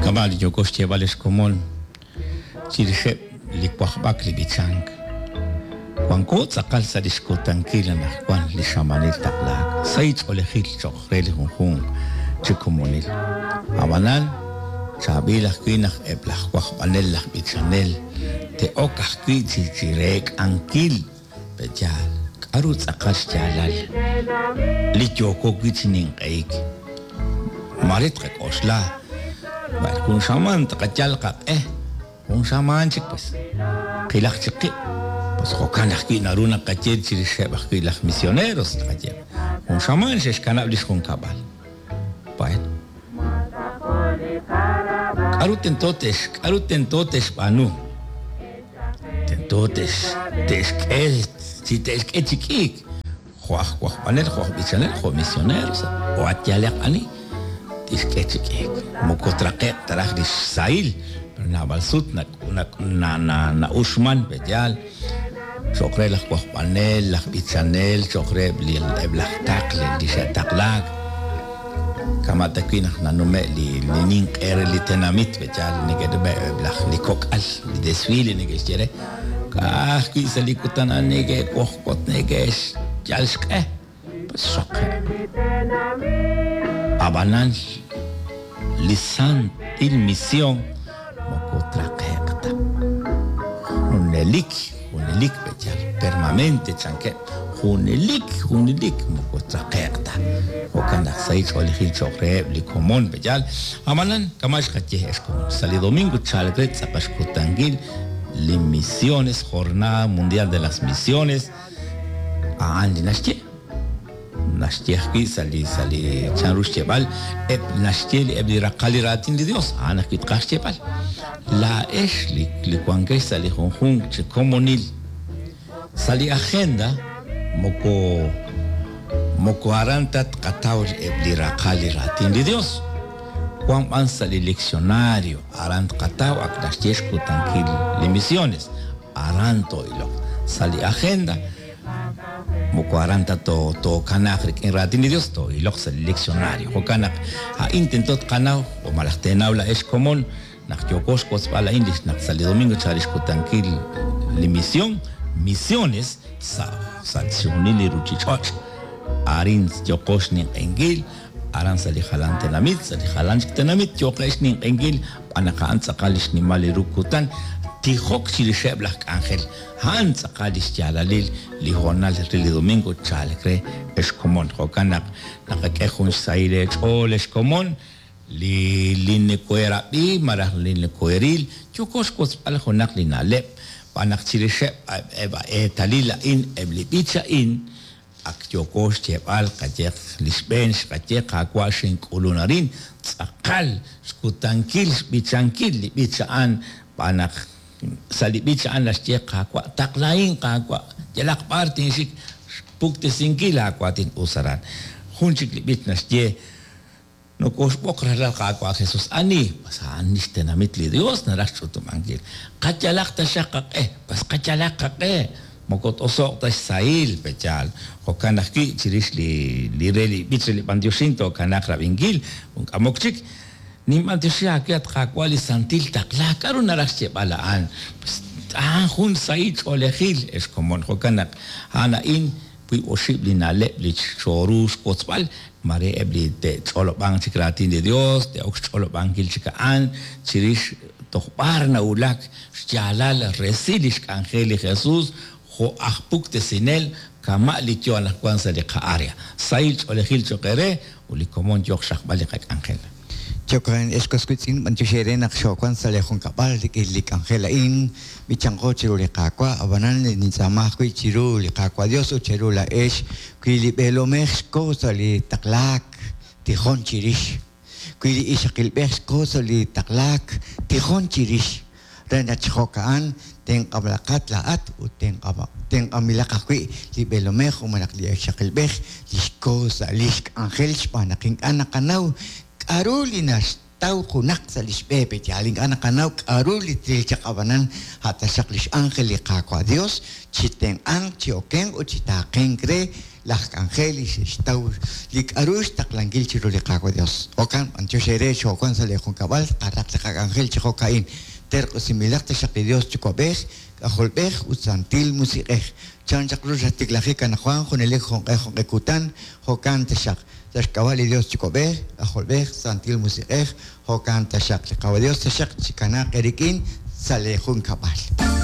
Kama' li yooko xyeeb'al ex komon chirixeb' li wajb'ak li b'ichank. Wanko tz'aqal sa' li xkutankil anaqwan li xamanil taqlaak, sahil ch'oolejil cho'q re li junjunq chi komonil. Ab'anan, chaab'il ajwi' naq eb' laj wajb'anel laj b'ichanel te'ok ajwi' chi chi reek'ankil Pe'yaal? K'aru tz'aqal xyaalal li yooko wi' chi ninq'ehik? Maare tqak'oxla, B'ar jun xamaan tqayal qaq'e, jun xamaan chik pues qilaq chik qib'. Pues jo'kan ajwi' naru naqaye chirixeb' ajwi' laj misioneros, tqaye, Jun xamaan xe'xkanab' li xjunkab'al. Bueno. K'aru tento te'x k'aru tento te'xb'aanu? Tento te'xk'e chi te'xk'e chi k'iik, jo' aj wajb'anel, jo' aj b'ichanel, jo' misioneros, jo' at yalaq ani, tixk'e chi k'iik. Moko traqe'q ta raj lix sahil, pero naab'al sut na'uxman, pe'yaal, cho'q re laj wajb'anel, laj b'ichanel, cho'q reheb' li eb' laj taql li xe'taqlaak. Kama' ta wi' naq nanume' li li ninq'e re li tenamit, pe'yaal neke'nume' eb' laj li kok'al, li desfile neke'xye re, ka'ajwi' sa' li kutan a'an neke'wojwot neke'xyal xq'e, pues xraqe'. Ab'anan li santil mision moko traqe'q ta. Junelik, junelik pe'yaal, permanente chankeb', junelik, junelik moko traqe'q ta. Jo'kan naq sahil ch'oolejil cho'q reheb' li komon pe'yaal. Ab'anan, kama' xqaye ex komon, sa' li domingo chalk re tz'aqal xkutankil li misiones, Jornada Mundial de las Misiones, a'an li naxye. Naxye ajwi' sa' li sa' li chanru xyeeb'al eb' naxye li eb' li raqal li raatin li Dios, a'an ajwi' tqaj xyeeb'al. Laa'ex li li wankex sa' li junjunq chi komonil sa' li agenda moko moko aran ta tqataw eb' li raqal li raatin li Dios. Wan b'an sa' li leccionario aran tqataw ak naxye xkutankil li misiones. Aran too'iloq. Sa' li agenda, moko aran ta tookanaaq rik'in raatin li Dios, too'iloq sa' li leccionario. Jo'kan naq a'in tento tqanaw, o malaj teenaw laa'ex komon, naq yooko xwotzb'al a'in lix naq sa' li domingo chal lix kutankil li mision, misiones, sa' sa' chixjunil li ruchich'och'. Arin yooqo xninq'ehinkil, aran sa' li jalan tenamit, sa' li jalan chik tenamit yooqeb' xninq'ehinkil, xb'aan naq a'an tz'aqal li xnimal li ru kutan, tijok chirixeb' laj k'anjel. A'an tz'aqal li xyaalalil li hoonal re li domingo chalk re, ex komon. Jo'kan naq naqak'e jun xsahil eech'ool, ex komon, li li nekoheerab'i malaj li nekoheeril, yooko xwotzb'al junaq li na'leb', xb'aan naq chirixeb' eb' a eetalil a'in, eb' li b'ich a'in, Ak yooko xyeeb'al, qayeeq li xb'een xqaye, Qaawa' xink'ulun arin, tz'aqal xkutankil xb'ichankil li b'ich a'an, xb'aan naq sa' li b'ich a'an naxye, Qaawa', taqlahin, Qaawa', yalaq b'ar tinxik xpuktesinkil laawaatin us aran. Jun chik li b'ich naxye, Nokoxb'oq rajlal Qaawa' Jesus. Ani? Pues a'an lix tenamit li Dios naraj xch'utub'ankil. Qayalaq taxaq qaq'e. Pues qayalaq qaq'e. Moko t-oso'q ta xsahil, pe'yaal? Jo'kan ajwi' chirix li li re li b'ich re li b'antioxink tookanaaq rab'inkil. Jun k'amok chik. Ninb'antioxi aawe, at Qaawa', li santil taqlaak. K'a'ru naraj xyeeb'al a'an? Pues a'an jun sahil ch'oolejil, ex komon. Jo'kan naq a'an a'in Wiib' oxib' li na'leb' li xooru xwotzb'al, maare eb' li te'ch'olob'anq chik raatin li Dios, te'ok xch'olob'ankil chik a'an chirix toj b'ar nawulak xyaalal resil lix k'anjel li Jesus jo' aj puktesinel kama' li yoo anaqwan sa' li qa'area. Sahil ch'oolejil choq' eere ut li komon yooq xraqb'al li qak'anjel. Jo'kan, ex was wiitz'in, b'antiox eere naq xoowan sa' lee junkab'al rik'in li k'anjel a'in. B'ichanqo chiru li Qaawa', ab'anan nintz'aama ajwi' chiru li Qaawa' Dios ut cheru laa'ex, wi li b'eelomej xko sa' li taqlaak, tijon chirix. Wi li ixaqilb'ej xko sa' li taqlaak, tijon chirix. Re naq chi jo'ka'an tenq'ab'laqat laa'at ut tenq'anb'ilaq ajwi' li b'eelomej malaj li ixaqilb'ej li xko sa' li xk'anjel xb'aan naq ink'a' naqanaw k'aru li naxye. taw junaq sa' lix b'e pe'yaal ink'a' naqanaw k'a'ru li tril chaq ab'anan a' taxaq lix ángel li Qaawa' Dios chi tenq'anq chi okenq ut chi taaqenk re laj k'anjel li xe'xtaw li k'a'ru xtaqlankil chiru li Qaawa' Dios. Jo'kan b'antiox eere xoowan sa' lee junkab'al qaraq li qak'anjel chi jo'ka'in. Terq'usinb'ilaq taxaq li Dios Yuwa'b'ej, K'ajolb'ej ut Santil Musiq'ej. Chan chaq ru xatiklajik anaqwan junelik junq'e junq'e kutan, jo'kan taxaq. Sa' xk'ab'a' li Dios Yuwa'b'ej, K'ajolb'ej, Santil Musiq'ej, jo'kan taxaq. Li Qaawa' Dios taxaq chikanaaq eerik'in sa' lee junkab'al.